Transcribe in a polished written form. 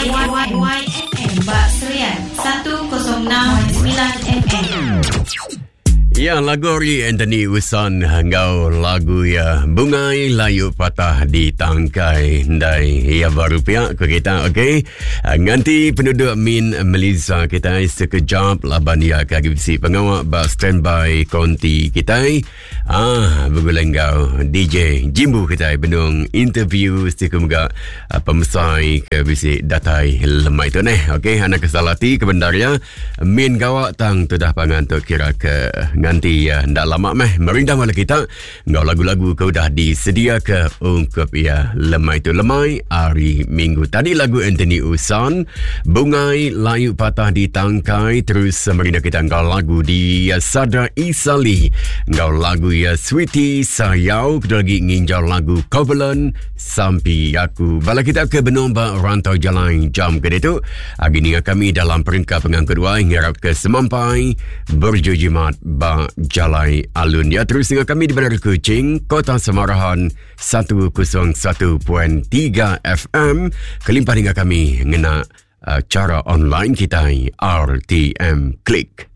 YFM ba Serian 106.9 FM. Ya, lagu ari Anthony Usan enggau lagu ya Bungai Layu Patah di Tangkai Ndai. Ya baru pia ke kita, okey. Ah, nganti penduduk Min Melisa kita sekejap laban ya ke agi bisi pengawa ba standby konti kita. Ah, begulai enggau DJ Jimbu kita benung interview siku mega ah, pemesai ke bisi datai lemai tu neh. Okey, anak kesal ati ke bendar ya. Min gawa tang tudah pangan tu kira ke nganti ya ndak lama meh merindang bala kita enggau lagu-lagu ke udah disedia ke ungkup ya lemai tu lemai hari Minggu. Tadi lagu Anthony Usan, Bungai Layu Patah di Tangkai terus merindang kita enggau lagu di Sada Isali enggau lagu ya Sweetie Sayau kedua lagi nginjau lagu Covenant Sampi Aku. Bala kita ke benung ba rantau jalai jam ke ditu agi ninga kami dalam perengka pengangkut wai ngarap ke semampai berjujimat ba jalai alun ya terus ninga kami di Bandar Kuching Kota Samarahan 101.3 FM kelimpah ninga kami ngena uh, cara online kita RTM Click.